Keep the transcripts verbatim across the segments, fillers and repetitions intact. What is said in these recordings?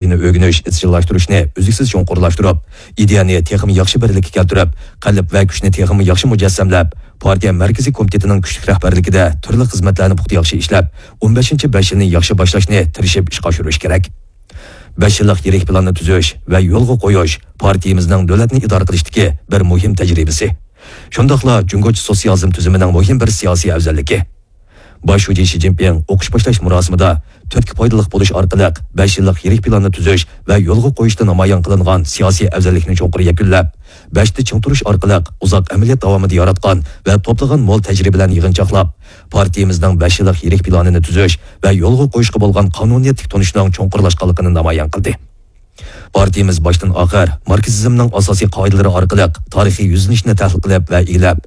ئۆگىنىش ئىزچىللاشتۇرۇشنى ئۈزلۈكسىز چوڭقۇرلاشتۇرۇپ، ئىدىيەنى تېخىمۇ ياخشى بىرلىككە كەلتۈرۈپ، قەلب ۋە كۈچنى تېخىمۇ ياخشى مۇجەسسەملەپ، پارتىيە مەركىزىي كومىتېتىنىڭ كۈچلۈك رەھبەرلىكىدە تۈرلۈك خىزمەتلەرنى پۇختا ياخشى ئىشلەپ، ئون بەشىنچى بەش يىلنى ياخشى باشلاشنى تىرىشىپ ئىشقا ئاشۇرۇش كېرەك. بەش يىللىق يىرىك پىلاننى تۈزۈش ۋە يولغا قويۇش پارتىيىمىزنىڭ دۆلەتنى ئىدارە قىلىشتىكى بىر مۇھىم تەجرىبىسى. شۇنداقلا جۇڭگوچە سوتسىيالىزم تۈزۈمىنىڭ مۇھىم بىر سىياسىي ئەۋزەللىكى. باش شۇجى شى جىنپىڭ ئوقۇش باشلاش مۇراسىمىدا تۈرتكە پايدىلىق بولۇش ئارقىلىق بەش يىللىق يىرىك پىلاننى تۈزۈش ۋە يولغا قويۇشتا نامايان قىلىنغان سىياسىي ئەۋزەللىكنى چوڭقۇر يەكۈنلەپ، بەشتە چىڭ تۇرۇش ئارقىلىق ئۇزاق ئەمەلىيەت داۋامىدا ياراتقان ۋە توپلىغان مول تەجرىبىلەرنى يىغىنچاقلاپ، پارتىيىمىزنىڭ بەش يىللىق يىرىك پىلانىنى تۈزۈش ۋە يولغا قويۇشقا بولغان قانۇنىيەتلىك تونۇشنىڭ چوڭقۇرلاشقانلىقىنى نامايان قىلدى. پارتىيىمىز باشتىن ئاخىر ماركسىزمنىڭ ئاساسىي قائىدىلىرى ئارقىلىق تارىخىي يۈزلىنىشنى تەھلىل قىلىپ ۋە ئىگىلەپ،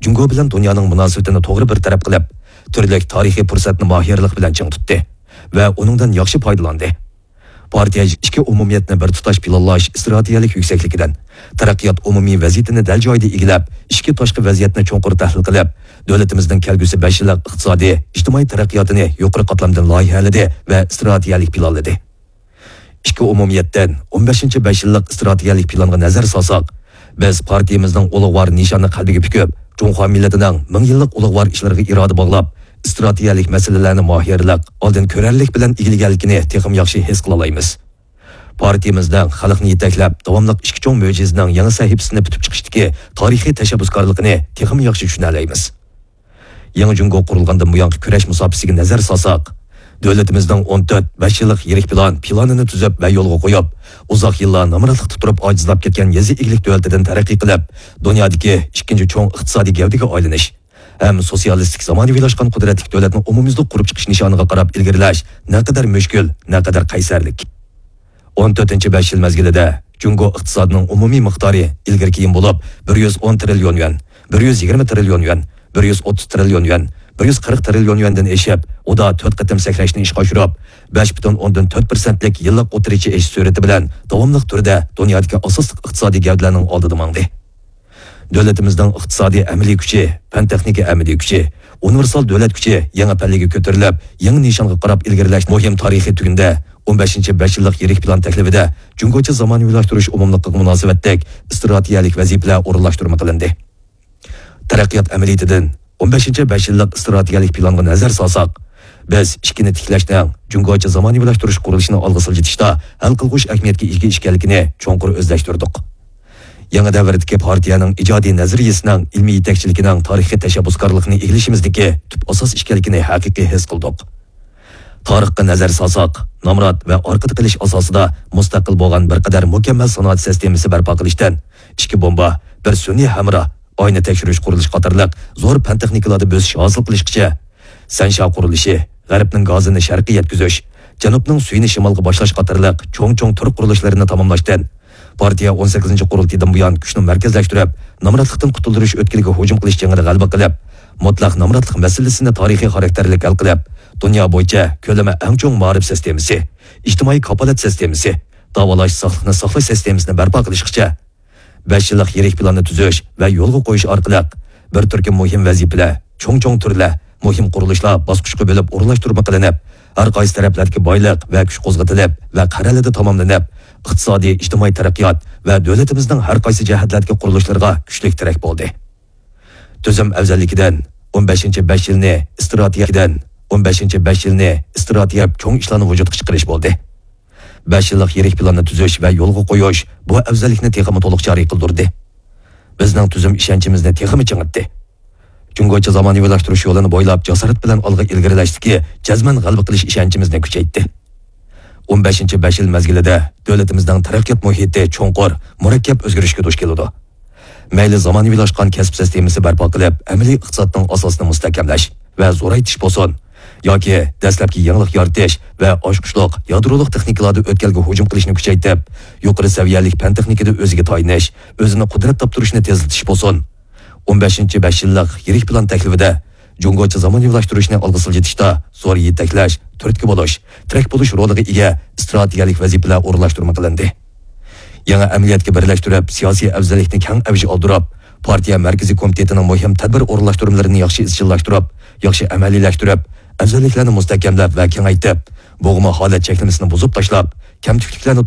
جۇڭگو بىلەن دۇنيانىڭ مۇناسىۋىتىنى توغرا بىر تەرەپ قىلىپ، تۈرلۈك تارىخىي پۇرسەتنى ماھىرلىق بىلەن چىڭ تۇتتى ۋە ئۇنىڭدىن ياخشى پايدىلاندى. پارتىيە ئىچكى ئومۇمىيەتنى بىر تۇتاش پىلانلاش ئىستراتېگىيەلىك يۈكسەكلىكىدىن، تەرەققىيات ئومۇمىي ۋەزىيىتىنى دەل جايىدا ئىگىلەپ، ئىچكى تاشقى ۋەزىيەتنى چوڭقۇر تەھلىل قىلىپ، دۆلىتىمىزنىڭ كەلگۈسى بەش يىللىق ئىقتىسادىي، ئىجتىمائىي تەرەققىياتىنى يۇقىرى قاتلامدىن لايىھەلىدى ۋە ئىستراتېگىيەلىك پىلانلىدى. ئىككى ئومۇمىيەتتىن ئون بەشىنچى بەش يىللىق ئىستراتېگىيەلىك پىلانغا نەزەر سالساق، بىز پارتىيىمىزنىڭ ئۇلۇغۋار نىشاننى قەلبىگە پۈكۈپ، جۇڭخۇا مىللىتىنىڭ مىڭ يىللىق ئۇلۇغۋار ئىشلىرىغا ئىرادە باغلاپ، ئىستراتېگىيەلىك مەسىلىلەرنى ماھىرلىق، ئالدىن كۆرەرلىك بىلەن ئىگىلىگەنلىكىنى تېخىمۇ ياخشى ھېس قىلالايمىز. پارتىيىمىزنىڭ خەلقنى يېتەكلەپ، داۋاملىق ئىككى چوڭ مۆجىزىنىڭ يېڭى سەھىپىسىنى پۈتۈپ چىقىشتىكى تارىخىي تەشەببۇسكارلىقىنى تېخىمۇ ياخشى چۈشىنەلەيمىز. يېڭى جۇڭگو قۇرۇلغاندىن بۇيانقى كۈرەش مۇساپىسىگە نەزەر سالساق، دۆلىتىمىزنىڭ ئون تۆت، بەش يىللىق يىرىك پىلان، پىلانىنى تۈزۈپ ۋە يولغا قويۇپ، ئۇزاق يىللار نامراتلىقتا تۇرۇپ ئاجىزلاپ كەتكەن يېزا ئىگىلىك دۆلىتىدىن تەرەققىي قىلىپ، دۇنيادىكى ئىككىنچى چوڭ ئىقتىسادىي گەۋدىگە ئايلىنىش ھەم سوتسىيالىستىك زامانىۋىلاشقان قۇدرەتلىك دۆلەتنى ئومۇميۈزلۈك قۇرۇپ چىقىش نىشانىغا قاراپ ئىلگىرىلەش نەقەدەر مۈشكۈل، نەقەدەر قەيسەرلىك. ئون تۆتىنچى بەش يىل مەزگىلىدە جۇڭگو ئىقتىسادىنىڭ ئومۇمىي مىقدارى ئىلگىرى كېيىن بولۇپ، بىر يۈز ئون تىرىليون يۈەن، بىر يۈز يىگىرمە تىرىليون يۈەن، بىر يۈز ئوتتۇز تىرىليون يۈەن، بىر يۈز قىرىق تىرىليون يۈەندىن ئېشىپ، ئۇدا تۆت قېتىم سەكرەشنى ئىشقا ئاشۇرۇپ، بەش پۈتۈن ئوندىن تۆت پىرسەنتلىك يىللىق ئوتتۇرىچە ئېشىش سۈرئىتى بىلەن داۋاملىق تۈردە دۇنيادىكى ئاساسلىق ئىقتىسادىي گەۋدىلەرنىڭ ئالدىدا ماڭدى. دۆلىتىمىزنىڭ ئىقتىسادىي ئەمەلىي كۈچى، پەن تېخنىكا ئەمەلىي كۈچى، ئۇنىۋېرسال دۆلەت كۈچى يېڭى پەللىگە كۆتۈرۈلۈپ، يېڭى نىشانغا قاراپ ئىلگىرىلەش مۇھىم تارىخىي تۈگۈندە، ئون بەشىنچى بەش يىللىق يىرىك پىلان تەكلىپىدە جۇڭگوچە زامانىۋىلاشتۇرۇش ئومۇملۇقىغا مۇناسىۋەتلىك ئىستراتېگىيەلىك ۋەزىپىلەر ئورۇنلاشتۇرما قىلىندى. تەرەققىيات ئەمەلىيىتىدىن ئون بەشىنچى بەش يىللىق ئىستراتېگىيەلىك پىلانغا نەزەر سالساق، بىز ئىككىنى تىكلەشنىڭ جۇڭگوچە زامانىۋىلاشتۇرۇش قۇرۇلۇشىنى ئالغا سىلجىتىشتا ھەل قىلغۇچ ئەھمىيەتكە ئىگە ئىكەنلىكىنى چوڭقۇر ئۆزلەشتۈردۇق. يېڭى دەۋردىكى پارتىيەنىڭ ئىجادىي نەزەرىيەسىنىڭ ئىلمىي يېتەكچىلىكىنىڭ تارىخىي تەشەببۇسكارلىقىنى ئىگىلىشىمىزدىكى تۈپ ئاساس ئىكەنلىكىنى ھەقىقىي ھېس قىلدۇق. تارىخقا نەزەر سالساق، نامرات ۋە ئارقىدا قېلىش ئاساسىدا مۇستەقىل بولغان بىر قەدەر مۇكەممەل سانائەت سىستېمىسى بەرپا قىلىشتىن، ئىككى بومبا، بىر سۈنئىي ھەمراھ، ئاينى تەكشۈرۈش قۇرۇلۇشى قاتارلىق زور پەن تېخنىكىلاردا بۆسۈش ھاسىل قىلىشقىچە، سەنشيا قۇرۇلۇشى، غەربنىڭ گازىنى شەرققە يەتكۈزۈش، جەنۇبنىڭ سۈيىنى شىمالغا باشلاش قاتارلىق چوڭ-چوڭ تۈر قۇرۇلۇشلىرىنى تاماملاشتىن، پارتىيە ئون سەككىزىنچى قۇرۇلتىيىدىن بۇيان كۈچنى مەركەزلەشتۈرۈپ، نامراتلىقتىن قۇتۇلدۇرۇش ئۆتكىلىگە ھۇجۇم قىلىش جېڭىدە غەلىبە قىلىپ، مۇتلەق نامراتلىق مەسىلىسىنى تارىخىي خاراكتېرلىك ھەل قىلىپ، دۇنيا بويىچە كۆلىمى ئەڭ چوڭ مائارىپ سىستېمىسى، ئىجتىمائىي كاپالەت سىستېمىسى، داۋالاش، ساقلىقنى ساقلاش سىستېمىسىنى بەرپا قىلىشقىچە، بەش يىللىق يىرىك پىلاننى تۈزۈش ۋە يولغا قويۇش ئارقىلىق بىر تۈركۈم مۇھىم ۋەزىپىلەر، چوڭ-چوڭ تۈرلەر، مۇھىم قۇرۇلۇشلار باسقۇچقا بۆلۈپ ئورۇنلاشتۇرما قىلىنىپ، ھەر قايسى تەرەپلەردىكى بايلىق ۋە كۈچ قوزغىتىلىپ ۋە قەرەلىدە تاماملىنىپ، ئىقتىسادىي، ئىجتىمائىي تەرەققىيات ۋە دۆلىتىمىزنىڭ ھەر قايسى جەھەتلەردىكى قۇرۇلۇشلىرىغا كۈچلۈك تىرەك بولدى. تۈزۈم ئەۋزەللىكىدىن ئون بەشىنچى بەش يىلنى ئىستراتېگىيەدىن ئون بەشىنچى بەش يىلنى ئىستراتېگىيە چوڭ ئىشلارنى ۋۇجۇدقا چىقىرىش بولدى. بەش يىللىق يىرىك پىلاننى تۈزۈش ۋە يولغا قويۇش بۇ ئەۋزەللىكنى تېخىمۇ تولۇق جارى قىلدۇردى. بىزنىڭ تۈزۈم ئىشەنچىمىزنى تېخىمۇ چىڭىتتى. جۇڭگوچە زامانىۋىلاشتۇرۇش يولىنى بويلاپ جاسارەت بىلەن ئالغا ئىلگىرىلەشتىكى جەزمەن غەلىبە قىلىش ئىشەنچىمىزنى كۈچەيتتى. ئون بەشىنچى بەش يىل مەزگىلىدە دۆلىتىمىزنىڭ تەرەققىيات مۇھىتى چوڭقۇر، مۇرەككەپ ئۆزگىرىشكە دۇچ كېلىدۇ. مەيلى زامانىۋىلاشقان كەسىپ سىستېمىسى بەرپا قىلىپ، ئەمەلىي ئىقتىسادنىڭ ئاساسىنى مۇستەھكەملەش ۋە زورايتىش بولسۇن، ياكى دەسلەپكى يېڭىلىق يارىتىش ۋە ئاچقۇچلۇق يادرولۇق تېخنىكىلاردا ئۆتكەلگە ھۇجۇم قىلىشنى كۈچەيتىپ، يۇقىرى سەۋىيەلىك پەن تېخنىكىدا ئۆزىگە تايىنىش، ئۆزىنى قۇدرەت تاپتۇرۇشنى تېزلىتىش بولسۇن، ئون بەشىنچى بەش يىللىق يىرىك پىلان تەكلىپىدە جۇڭگوچە زامانىۋىلاشتۇرۇشنى ئالغا سىلجىتىشتا زور يېتەكلەش، تۈرتكە بولۇش، تىرەك بولۇش رولىغا ئىگە ئىستراتېگىيەلىك ۋەزىپىلەر ئورۇنلاشتۇرما قىلىندى. يېڭى ئەمەلىيەتكە بىرلەشتۈرۈپ، سىياسىي ئەۋزەللىكنى كەڭ ئەۋج ئالدۇرۇپ، پارتىيە مەركىزىي كومىتېتىنىڭ مۇھىم تەدبىر ئورۇنلاشتۇرمىلىرىنى ياخشى ئىزچىللاشتۇرۇپ، ياخشى ئەمەلىيلەشتۈرۈپ، ئەۋزەللىكلەرنى مۇستەھكەملەپ ۋە كېڭەيتىپ، بوغما ھالەت چەكلىمىسىنى بۇزۇپ تاشلاپ، كەمتۈكلۈكلەرنى